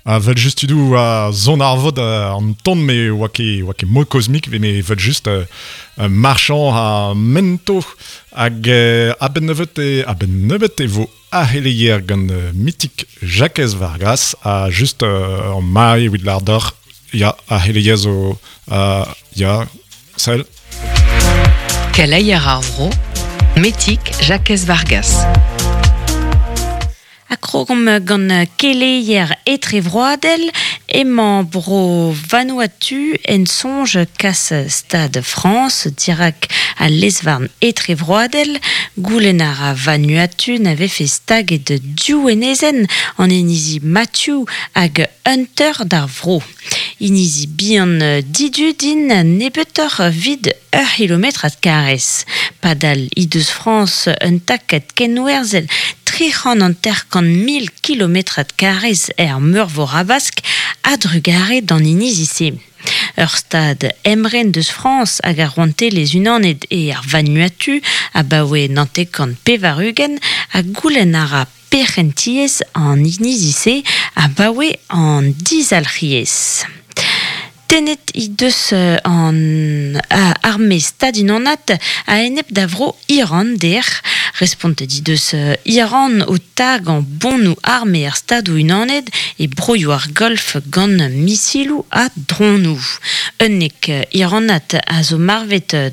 A vel just tudou a zon ar vod an ton me oa ket, oa ket mod kozmik, me vel just marchand ha mento hag a-benn nebeut e, a-benn nebeut e vo aheleier gant mitik Jakez Vargas ha just an mare evit lar deoc'h ya aheleier zo ya sell. Keleier ar vro, Metik Jakez Vargas. Ha krogomp gant keleier etrevroadel, emañ bro Vanuatu en soñj kas Stad Frañs dirak al lez-varn etrevroadel. Goulenn a ra Vanuatu na vefe staget div enezenn, an inizi Matthew hag Hunter d'ar vro. Inizi bihan didud int nebeutoc'h 'vit ur c'hilometrad karrez. Padal he deus Frañs un takad kenwerzhel 350 000 kilometrad karrez er Meurvor Habask a-drugarez d'an inizi-se. Ur stad emren deus Frañs hag ar Rouantelezh Unanet eo ar Vanuatu abaoe 99 ha goulenn a ra perc'hentiezh an inizi-se abaoe an dizalc'hiezh. Tennet he deus an arme stadunanat a-enep da vro Iran dec'h. Respontet he deus Iran o tagañ bonoù arme ar Stadoù-Unanet e broioù ar Golf gant misiloù ha dronoù. 11 Iranat a zo marvet.